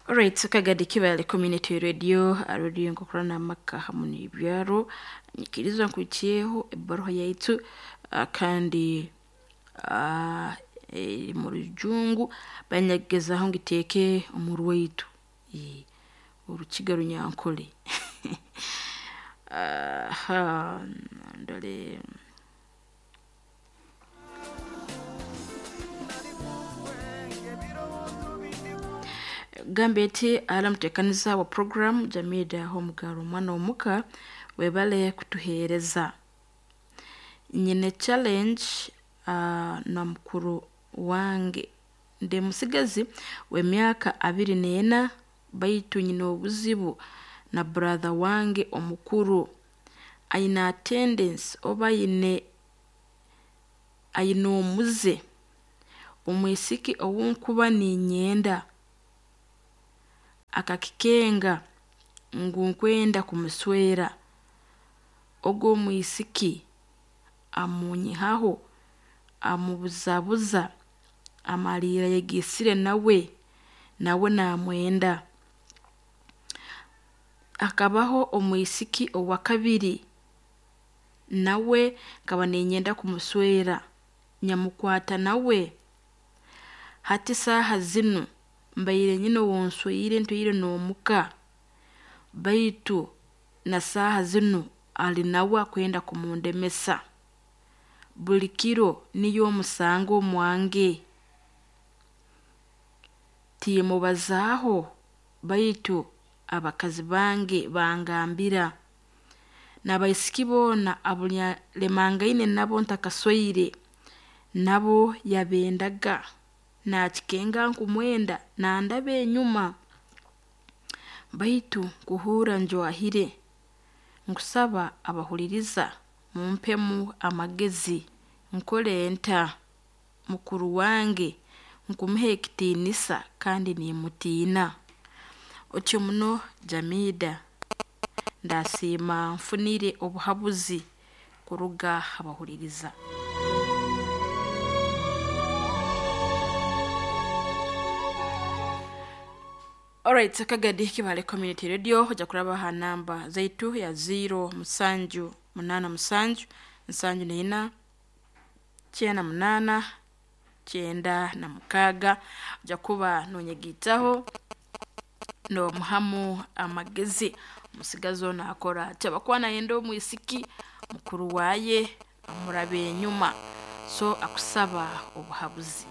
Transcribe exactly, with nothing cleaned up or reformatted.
Alright, Kagadi Kibale Community Radio, radio nkokurana amaka hamu n'ibyaro. Nyikiriza nkuikyeho ebbaruha yaitu ah, kandi ah, eri mu rujungu banyagezaho ngiteeke omu rwaitu. Eh, Orukiga Runyankole. Aha, ndole. Gambe eti ala muteekaniza wa program Jamida Homugaro omwana omuka webale kutuheereza. Nyine challenge uh, na mukuru wange ndi musigazi w'emyaka abiri n'ena baitu nyine obuzibu na brother wange omukuru aine attendance oba aine aine omuze omwisiki ou nkuba niinyenda akakikenga ngu nkwenda kumuswera ogu omwisiki amunyihaho amubuzabuza amaliira ayegiisire nawe nawe naamwenda. Hakabaho omwisiki owa kabiri nawe nkaba niinyenda kumuswera nyamukwata nawe. Hati saaha zinu mbaire nyine ou nswire ntwire n'omuka baitu na saaha zinu ali nawe akwenda kumundemesa. Buli kiro niyo omusanga omwange. Timmubazaaho baitu abakazi bange bangambira. N'abaisiki boona abu nalemangaine nabo ntakasweire nabo yabendaga naakikenga nkumwenda nandaba enyuma. Baitu nkuhurra njwahire, nkusaba abahuliriza mumpemu amagezi nkole nta? Mukuru wange nkumuha ekitiinisa kandi nimmutiina. Otyo muno Jamida ndaasiima nfunire obuhabuzi kuruga ha bahuliriza. Alright, Kagadi Kibale Community Radio ojja kuraba ha namba zaitu ya ziro musanju munaana musanju nsanju n'ina kyenda munaana kyenda na mukaaga ojja kuba noonyegiitaho noomuhamu amagezi. Omusigazi onu akora ati habwokuba nayenda omwisiki mukuru waaye amuraba enyuma so akusaba obuhabuzi.